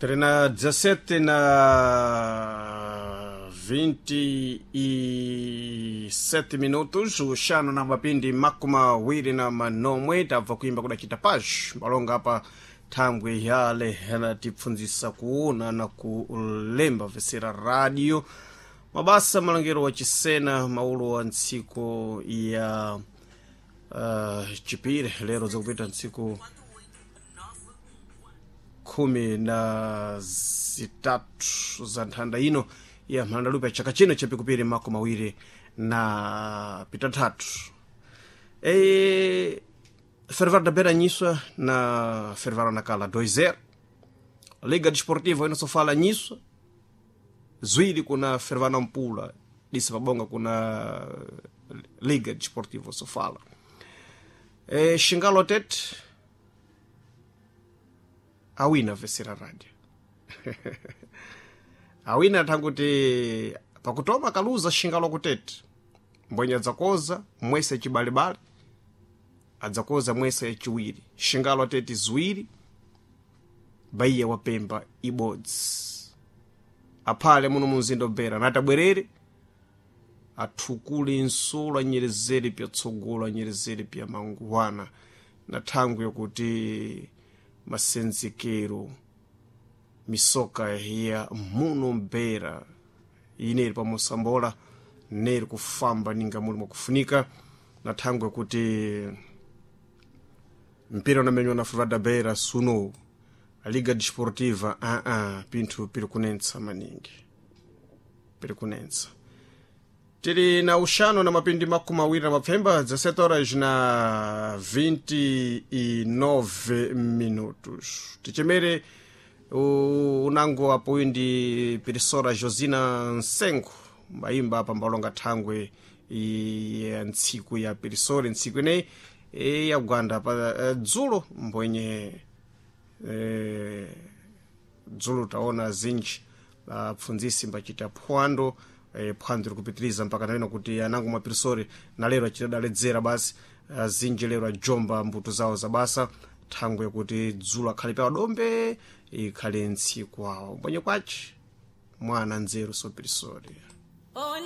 Tuli na 17 na 27 minutos, uxanu na mapindi 28. Tabva kuimba kudacita paz malonga apa thangwe yale yanatipfundzisa kuona na kulemba vesera radio mabasa malongero wa chisena maulo wa ntsiku ya chipiri lero zakupita ntsiku 13 za nthanda ino ya mhandalupe ya chaka chino chapikupiri 23. E Fervar da Beira nyiswa na Fervar nakala 2-0. Liga Desportiva ino sofala nyiswa zwiri kuna Fervar na Mpula disa pabonga kuna Liga Desportiva sofala. E Xingalo Tete awina vesera radio awina thanguti pakutoma kaluza Xingalo kutete mbwenye adzakoza mwese chibalibali adzakoza mwese yachiwiri Xingalo atete ziwiri Baiya wapemba ibodzi aphale muno mumzinda obera natabwerere athukule nsulo anyerezere pyatsogolo anyerezere pya manguwana na thangwi yokuti masenzekero misoka ya muno mbera ineri pamosambola neri kufamba ninga muli mwakufunika na thangwi yokuti mpira unamenywa na Ferroviário da Beira suno a Liga Desportiva pinthu piri kunentsa maningi piri kunentsa. Tili na uxanu na mapindi 27, 17 horas na 29 minutos. Tichemere unango apo uyu ndi Pirisora Josina Nsengo mbayimba apa mbalonga thangwe ya ntsiku ya Pirisori ntsiku ineyi yagwanda pa dzulo mbwenye dzulo taona zinji apfundzisi mbachita phwando phwando likupitiriza mpaka naleno kuti anango mapirisori na lero achitadaledzera basi azinji lero ajomba mbuto zawo za basa thangwe kuti dzulo akhale pa dombe ikhale ntsiku awo mbwenye kwaci mwana nzeru sopirisori. Oni.